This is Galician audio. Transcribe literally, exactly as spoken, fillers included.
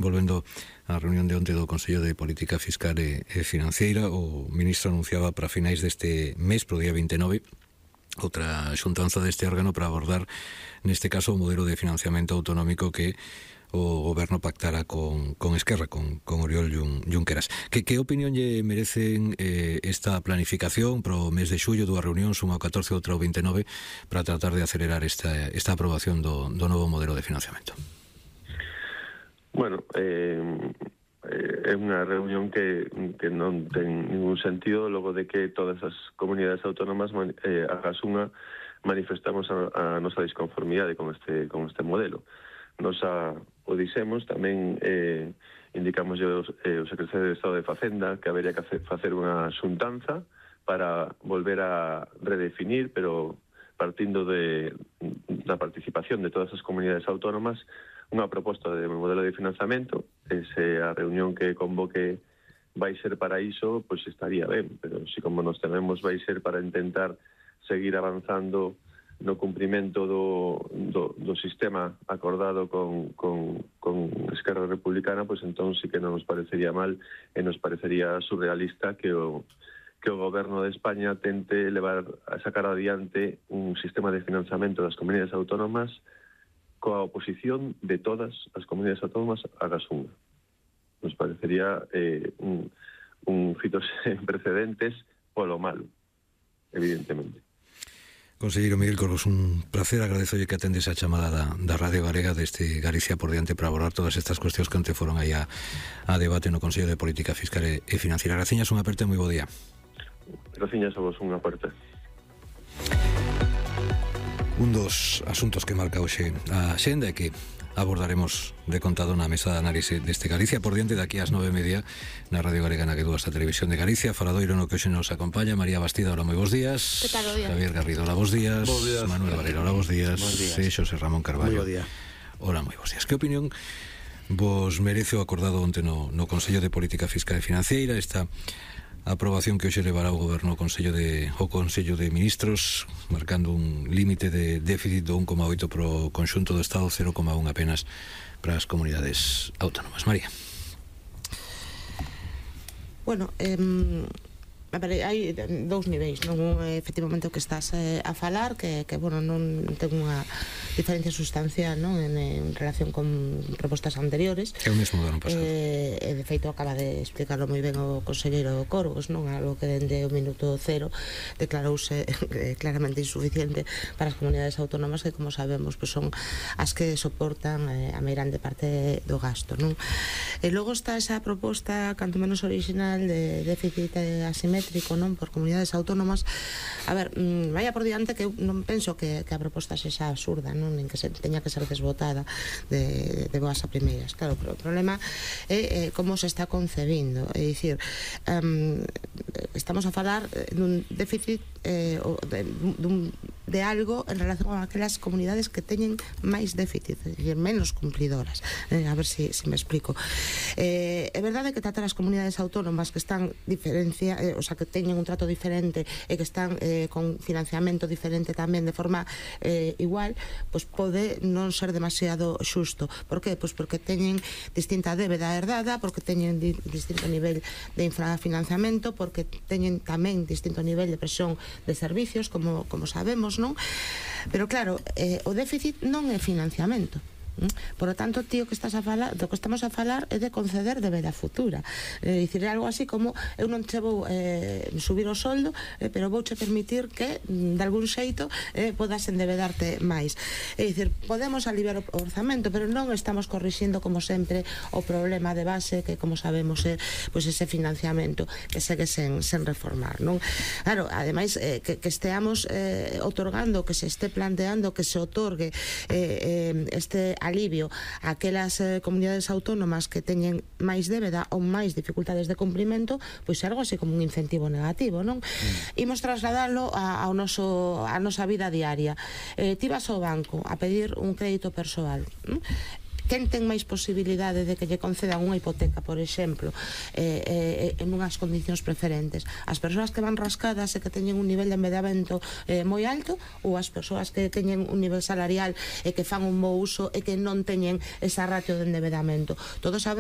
Volvendo á reunión de onte do Consello de Política Fiscal e, e Financiera, o ministro anunciaba para finais deste mes, pro día vinte e nove, outra xuntanza deste órgano para abordar, neste caso, o modelo de financiamento autonómico que o goberno pactara con, con Esquerra, con, con Oriol Junqueras. Que, que opinión lle merecen eh, esta planificación pro mes de xullo, dúas reunións, unha o catorce e outra o vinte e nove, para tratar de acelerar esta, esta aprobación do, do novo modelo de financiamento? Bueno, eh, é unha reunión que, que non ten ningún sentido logo de que todas as comunidades autónomas eh, agas unha manifestamos a, a nosa disconformidade con este, con este modelo. Nos a, o dixemos, tamén eh, indicamos yo, eh, o secretario de Estado de Facenda que habería que hacer, facer unha xuntanza para volver a redefinir, pero partindo de, da participación de todas as comunidades autónomas, unha proposta de modelo de financiamento. Se a reunión que convoque vai ser para iso, pois estaría ben, pero se como nos tememos vai ser para intentar seguir avanzando no cumprimento do, do, do sistema acordado con, con, con Esquerra Republicana, pois entón sí que non nos parecería mal e nos parecería surrealista que o que o goberno de España tente levar a sacar adiante un sistema de financiamento das comunidades autónomas coa oposición de todas as comunidades autónomas a Gasunga. Nos parecería eh, un, un fito sen precedentes polo malo, evidentemente. Conselleiro Miguel Corros, un placer, agradezolle que atendes a chamada da, da Radio Galega deste Galicia por diante para abordar todas estas cuestións que ante foron aí a, a debate no Consello de Política Fiscal e, e Financiera. Graciñas, unha aperta e moi bo día. Graciñas a vos, unha aperta. Un dos asuntos que marca hoxe a xenda é que abordaremos de contado na mesa de análise deste Galicia por diante daqui ás nove e media na Radio Galega na que dúa esta Televisión de Galicia. Faladoiro no que hoxe nos acompaña María Bastida, hola, moi bons días. Que tal, o día? Javier Garrido, hola, bons días. Bos días. Manuel Valero, hola, bons días. Bos días. E Xosé Ramón Carballo. Moi bo día. Hola, moi bons días. Que opinión vos merece o acordado onte no, no Consello de Política Fiscal e Financiera, esta a aprobación que hoxe levará o Goberno ao Consello de, o Consello de Ministros, marcando un límite de déficit do un coma oito pro conxunto do Estado, cero coma un apenas para as comunidades autónomas? María. Bueno, eh, a ver, hai dous niveis, non? Un, efectivamente, o que estás eh, a falar, que, que bueno, non ten unha diferencia sustancial, non? En, en relación con propostas anteriores. É o mesmo do ano pasado. Eh, e, de feito, acaba de explicarlo moi ben o conselleiro Corgos, non? Algo que dende o minuto cero declarouse eh, claramente insuficiente para as comunidades autónomas que, como sabemos, pues son as que soportan eh, a meirande parte do gasto, non? E logo está esa proposta, canto menos original, de déficit asimétrico, non? Por comunidades autónomas. A ver, mmm, vaya por diante que eu non penso que, que a proposta sexa absurda, non? Nin que se teña que ser desbotada de, de boas a primeiras. Claro, pero o problema é eh, como se está concebindo. É dicir, um, estamos a falar dun déficit eh, de, dun, de algo en relación a aquelas comunidades que teñen máis déficit, é dicir, menos cumplidoras. Eh, a ver se si, si me explico. Eh, é verdade que tratar as comunidades autónomas que están diferencia, eh, o sea, que teñen un trato diferente e que están eh, con financiamento diferente tamén de forma eh, igual, pois pode non ser demasiado xusto. Por que? Pois porque teñen distinta débeda herdada, porque teñen di, distinto nivel de infrafinanciamento, porque teñen tamén distinto nivel de presión de servicios, como, como sabemos, non? Pero claro, eh, o déficit non é financiamento. Por lo tanto, tío, que estás a falar, do que estamos a falar é de conceder débeda futura. É dicir, algo así como eu non che vou eh, subir o soldo, eh, pero vouche permitir que, de algún xeito, eh, podas endebedarte máis. É dicir, podemos aliviar o orzamento, pero non estamos corrixindo, como sempre, o problema de base que, como sabemos, é pois ese financiamento que segue sen, sen reformar, non? Claro, ademais, eh, que, que esteamos eh, otorgando, que se esté planteando que se otorgue eh, eh, este alivio a aquelas eh, comunidades autónomas que teñen máis débeda ou máis dificultades de cumprimento, pois é algo así como un incentivo negativo, non? Mm. Imos trasladalo a, ao noso, a nosa vida diaria. Eh, ti vas ao banco a pedir un crédito persoal, non? quen ten máis posibilidade de que lle concedan unha hipoteca, por exemplo, eh, eh, en unhas condicións preferentes? As persoas que van rascadas e que teñen un nivel de endeudamento eh, moi alto, ou as persoas que teñen un nivel salarial e que fan un bo uso e que non teñen esa ratio de endeudamento? Todos sabemos